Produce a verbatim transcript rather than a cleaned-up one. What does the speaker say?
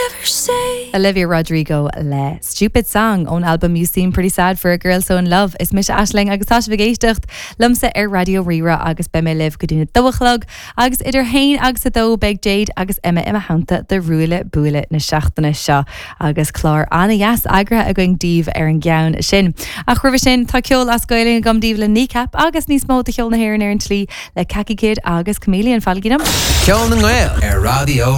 ever say. Olivia Rodrigo le Stupid Song ón album You Seem Pretty Sad for a Girl So in Love is mise Aisling agus tá sibh ag éisteacht liomsa ar Raidió Rí-Rá agus beidh mé libh go dtí a dó a chlog agus idir haon agus a dó beidh Jade agus Emma i mo theannta do Ruaille Buaille na seachtaine seo agus clár an-deas eagraithe againn daoibh ar an gceann sin. Ach roimhe sin tá ceol as Gaeilge agam daoibh le Kneecap agus níos mó de cheol na hÉireann ar an tslí le Kaki Kid agus Chameleon fáilgínam. Ceol na nGael ar Raidió